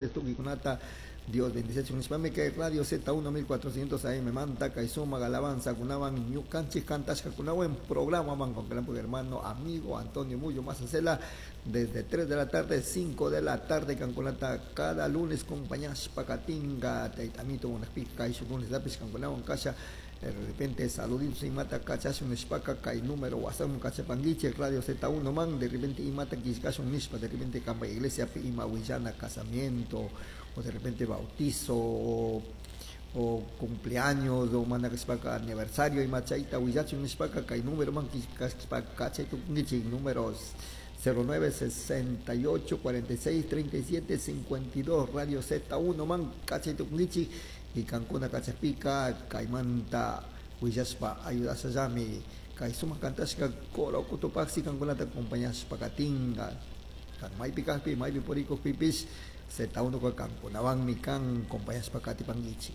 Tukikunata Dios bendiciachun nishpami kay Radio Z1 1400 AM manta kay sumak alabanzakunawan ñukanchik kantashkakunawan programa man con gran hermano amigo Antonio Muyo Mazacela desde 3 de la tarde 5 de la tarde kankunata cada lunes compañashpa katinga taytamito munakpika kay shuk lunes lapish kankunawan kasha. De repente saluditos imata kachashun nishpaka kay número WhatsApp kachapanguichik Radio Z1 man. De repente imata killkashun nishpa, de repente kanpa iglesia pi ima willana casamiento o de repente bautizo o cumpleaños o mana kashpaka aniversario ima chayta willachun nishpaka kay número man killkashpa kachaytukunkichik números 09 68 46 37 52 Radio Z1 man kachaytukunkichik y kankuna kachakpika kaymanta willashpa ayudashallami kay sumak kantashka coro Cotopaxi kankunata acompañashpa katinga kan maypi kajpi maypi purikukpipish Z1 ka kankunawanmi kan acompañashpa katipankichik.